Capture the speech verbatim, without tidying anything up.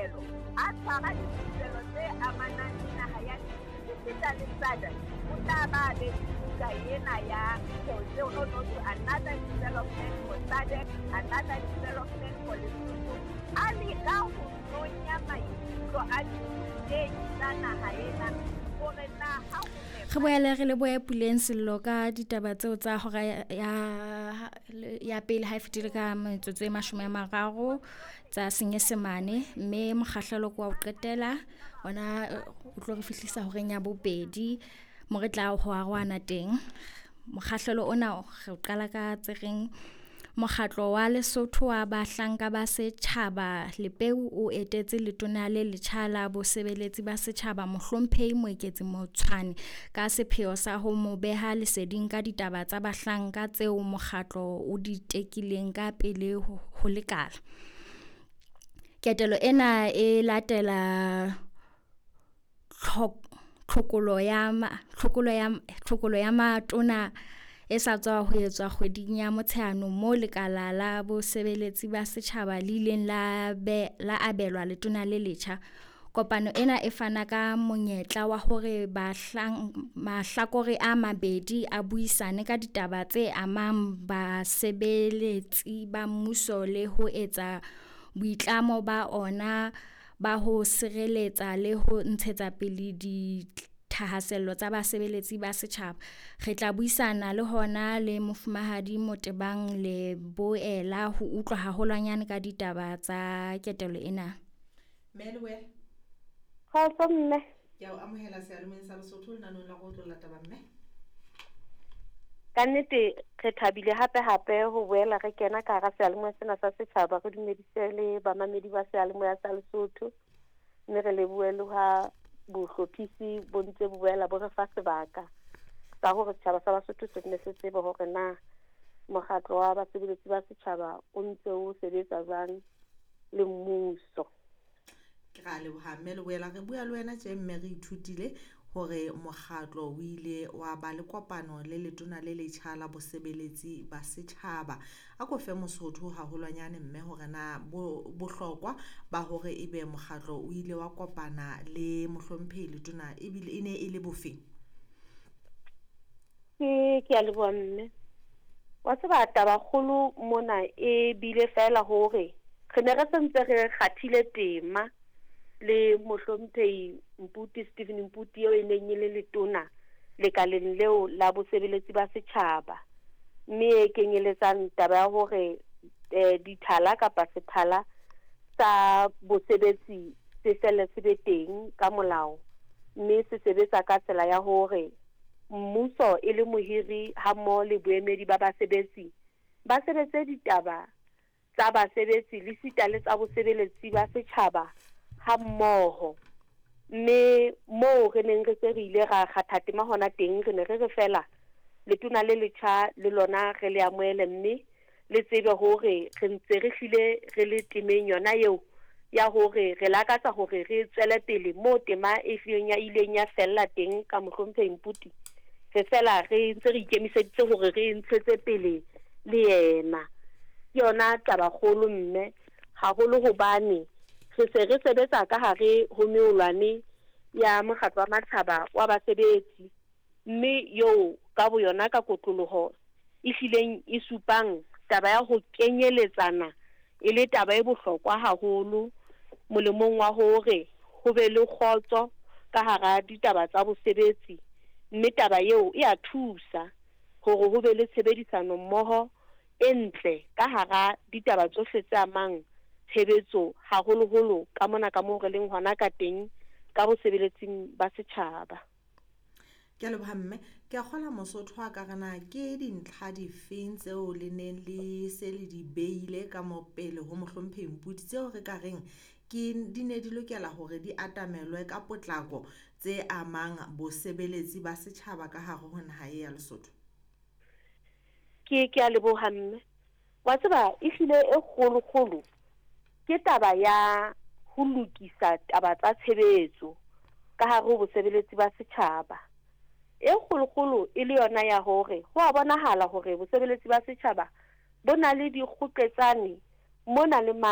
dithupelo, a tshwara dithupelo tse amanang le naha ya Lesotho esita le S A D C. O tla ba be le buka ena ya tseo no to another development for S A D C, another development for Lesotho. A leka ho nonya maikutlo a dithutehi tsa naha ena hore na ha ho Re boele re lebohe Puleng Sello ka ditaba tseo tsa hora ya ya pele ha e fetile ka metsotso e mashome a mararo tsa Senyesemane, mme mokgahlelo ke wa ho qetela ona o tlo re fihlisa horeng ya bobedi mo re tla ho arohana teng. Mokgahlelo ona re qala ka tse reng mokgatlo wa Lesotho wa bahlanka ba setjhaba Lepeu o etetse letona le letjha la bosebeletsi ba setjhaba Mohlomphehi Moeketsi Motshwane ka sepheo sa ho mo beha leseding ka ditaba tsa bahlanka tseo mokgatlo o di tekileng ka pele ho lekala. Ketelo ena e latela tlhokolo ya tlhokolo ya tlhokolo ya matona e sa tswa ho etswa kgweding ya Motsheanong moo lekala la bosebeletsi ba setjhaba le ileng la be la abelwa letona le letjha. Kopano ena e fana ka monyetla wa hore bahlang mahlakore a mabedi a buisane ka ditaba tse amang basebeletsi ba mmuso le ho etsa boitlamo ba ona ba ho sireletsa le ho ntshetsa pele dithahasello tsa basebeletsi ba setjhaba. Re tla buisana le hona le Mofumahadi Motebang Leboela ho utlwa haholwanyane ka ditaba tsa ketelo ena. Mme Leboela. Kgotso mme. Ke a o amohela seyalemoyeng sa Lesotho lenanong la go otlolla taba, mme. Ka nnete re thabile hape hape ho boela re kena ka hara seyalemoya sena sa setjhaba. Re dumedise le bamamedi ba seyalemoya sa Lesotho, mme re lebohe le ha bohlophisi bo ntse bo boela bo re fa sebaka sa hore setjhaba sa Basotho se nne se tsebe hore na mokgatlo wa basebeletsi ba setjhaba o ntse o sebetsa jwang le mmuso. Ke ra leboha, mme Leboela. Re bua le wena tje, mme re ithutile hore mokgatlo o ile wa ba le kopano le letona le letjha la bosebeletsi ba setjhaba. A ko fe Mosotho haholwanyane, mme, hore na bo bohlokwa ba hore ebe mokgatlo o ile wa kopana le mohlomphehi letona ebile e ne e le bofeng? Ke ke a leboha, mme. Wa tseba, taba kgolo mona e bile fela hore re ne re sentse re kgathile tema le mohlomphehi Mputi, Stephen Mputi, eo e neng e le letona lekaleng leo la bosebeletsi ba setjhaba, mme e kenyeletsang taba ya hore eh, dithala kapa sethala sa bosebetsi se fele se be teng ka molao, mme se sebetsa ka tsela ya hore mmuso e le mohiri ha mmoho le boemedi ba basebetsi ba sebetse ditaba tsa basebetsi le sita le tsa bosebeletsi ba setjhaba ha mmoho. Mme moo re neng re se re ile ra kgatha tema hona teng, re ne re re fela letona le letjha le lona re le amohele, mme le tsebe hore re ntse re hlile re le temeng yona eo ya hore re lakatsa hore re tswele pele moo tema e hlileng ya ileng ya fella teng ka mohlomphehi Mputi. Re fela re ntse re ikemiseditse hore re ntshetse pele le yena. Ke yona taba kgolo, mme, haholo hobane re se re sebetsa ka hare ho meolwane ya mokgatlo wa matjhaba wa basebetsi, mme eo ka boyona ka kotloloho e hlileng e supang taba ya ho kenyeletsana e le taba e bohlokwa haholo molemong wa hore ho be le kgotso ka hara ditaba tsa bosebetsi, mme taba eo e a thusa hore ho be le tshebedisano mmoho e ntle ka hara ditaba tsohle tse amang tshebetso, haholoholo ka mona ka moo re leng hona ka teng ka bosebeletsing ba setjhaba. Ke a leboha, mme. Ke a kgola Mosotho a ka re na ke dintlha difeng tseo le neng le se le di beile ka mo pele ho mohlomphehi Mputi tseo re ka reng ke di ne di lokela hore di atamelwe ka potlako tse amang bosebeletsi ba setjhaba ka hare ho naha e ya Lesotho? Ke ke a leboha, mme. Wa tseba, ehlile e kgolo-kgolo ke taba ya ho lokisa taba tsa tshebetso ka hare ho bosebeletsi ba setjhaba. E kgolokgolo e le yona ya hore ho a bonahala hore bosebeletsi ba setjhaba bo na le dikgoqetsane mona le mane.